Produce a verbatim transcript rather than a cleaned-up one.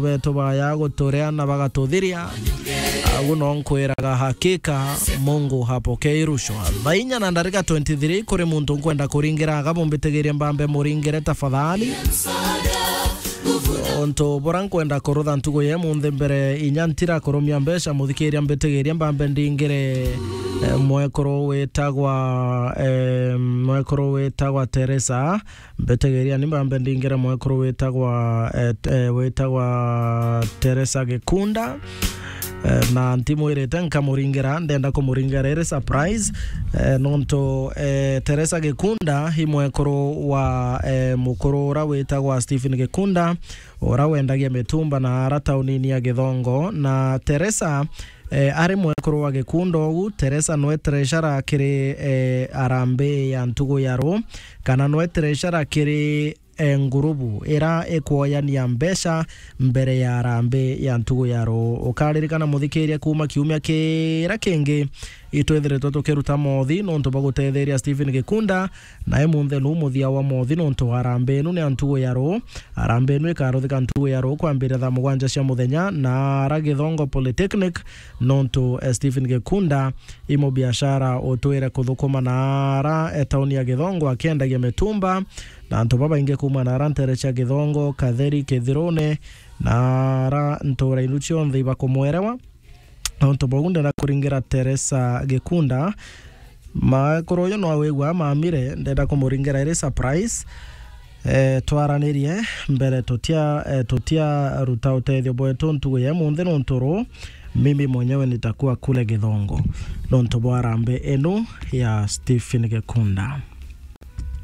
betu baya guturia na bagatuthiria. Agu no nkwiraga, hakika Mungu hapokei rushwa. Thaa inya na ndarika twenty-three, kuri muntu nkwenda kuringira, aga bumbitigirie mbambe muringire tafadhali. Untu bura nkwenda kurutha ntugu ya munthi mbere inya ntira kurumia mbeca, muthikiria mbitigirie mbambe ndingire, eh, mwekuru witagwa, eh, mwekuru witagwa Teresa. Mbitigiria ni mbambe ndingire mwekuru witagwa, eh, t-, eh, witagwa Teresa Gikunda. Eh, na ntimwirite nkamuringira, ndenda kumuringira riri surprise. Eh, nontu, eh, Teresa Gikunda i mwekuru wa, eh, mukuru ura witagwa Stephen Gikunda, ura wendagia mitumba na ara taunini ya Githongo. Na Teresa, eh, ari mwekuru wa Gikunda ugu, Teresa nwe treasurer kiri, eh, arambi ya ntugu ya ru, kana nwe treasurer kiri, eh, ngurubu ira ikwoyania mbeca mbere ya arambi ya ntugu ya ru. Ukaririkana muthikiria, kuma kiumia kira kingi itwithiritwe tukiruta mothi nontu bwa gutetheria Stephen Gikunda, na imunthe nu muthia wa mothi nontu wa arambi inu ni ya ntugu ya ru. Arambi inu ikaruthika ntugu ya ru kwambiria thaa mugwanja cia muthenya na ara Githongo Polytechnic, nontu, eh, Stephen Gikunda i mubiashara utwire kuthukuma na ara, eh, tauni ya Githongo akiendagia mitumba, na antu babaingi kuma na ara ntere cia Githongo, Katheri, Kithirune, na ara ntura inu cionthe ibakumwerewa. Nontu bau ndenda kuringira Teresa Gikunda. Mwekuru uyu no awigua mamire, ndenda kumuringira iri surprise. Eh, twaranirie mbere, tutia, eh, tutia ruta utethio bwetu ntugu ya munthi nontu ru, mimi mwenyewe nitakuwa kule Githongo nontu bwa arambi inu ya Stephen Gikunda.